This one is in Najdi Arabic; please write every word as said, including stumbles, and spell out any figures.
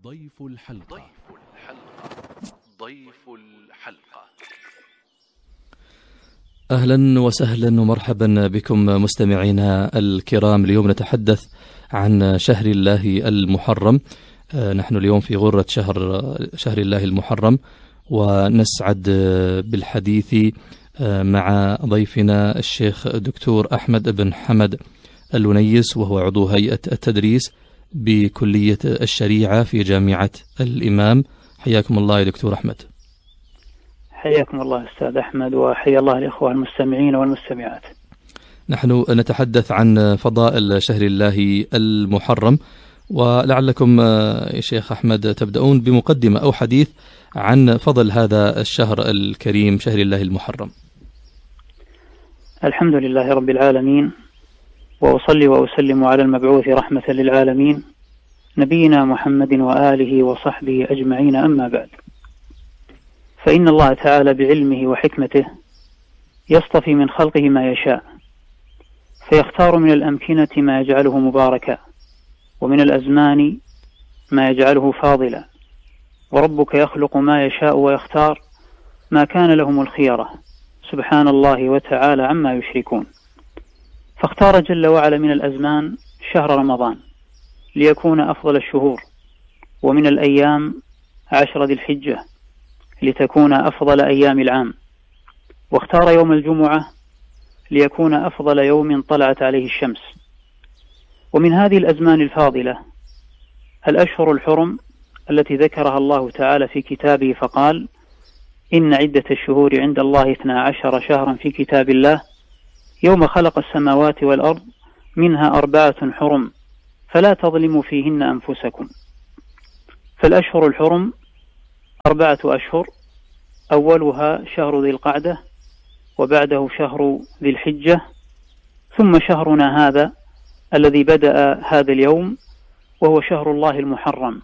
ضيف الحلقة ضيف الحلقة ضيف الحلقة أهلا وسهلا ومرحبا بكم مستمعينا الكرام. اليوم نتحدث عن شهر الله المحرم. نحن اليوم في غرة شهر شهر الله المحرم، ونسعد بالحديث مع ضيفنا الشيخ الدكتور أحمد بن حمد الونيس، وهو عضو هيئة التدريس بكلية الشريعة في جامعة الإمام. حياكم الله يا دكتور أحمد. حياكم الله أستاذ أحمد، وحيا الله الإخوة المستمعين والمستمعات. نحن نتحدث عن فضائل شهر الله المحرم، ولعلكم يا شيخ أحمد تبدأون بمقدمة أو حديث عن فضل هذا الشهر الكريم شهر الله المحرم. الحمد لله رب العالمين، وأصلي وأسلم على المبعوث رحمة للعالمين نبينا محمد وآله وصحبه أجمعين، أما بعد، فإن الله تعالى بعلمه وحكمته يصطفي من خلقه ما يشاء، فيختار من الأمكنة ما يجعله مباركا، ومن الأزمان ما يجعله فاضلا، وربك يخلق ما يشاء ويختار، ما كان لهم الخيرة، سبحان الله وتعالى عما يشركون. فاختار جل وعلا من الأزمان شهر رمضان ليكون أفضل الشهور، ومن الأيام عشر ذي الحجة لتكون أفضل أيام العام، واختار يوم الجمعة ليكون أفضل يوم طلعت عليه الشمس. ومن هذه الأزمان الفاضلة الأشهر الحرم التي ذكرها الله تعالى في كتابه فقال: إن عدة الشهور عند الله اثنا عشر شهرا في كتاب الله يوم خلق السماوات والأرض منها أربعة حرم فلا تظلموا فيهن أنفسكم. فالأشهر الحرم أربعة أشهر، أولها شهر ذي القعدة، وبعده شهر ذي الحجة، ثم شهرنا هذا الذي بدأ هذا اليوم وهو شهر الله المحرم.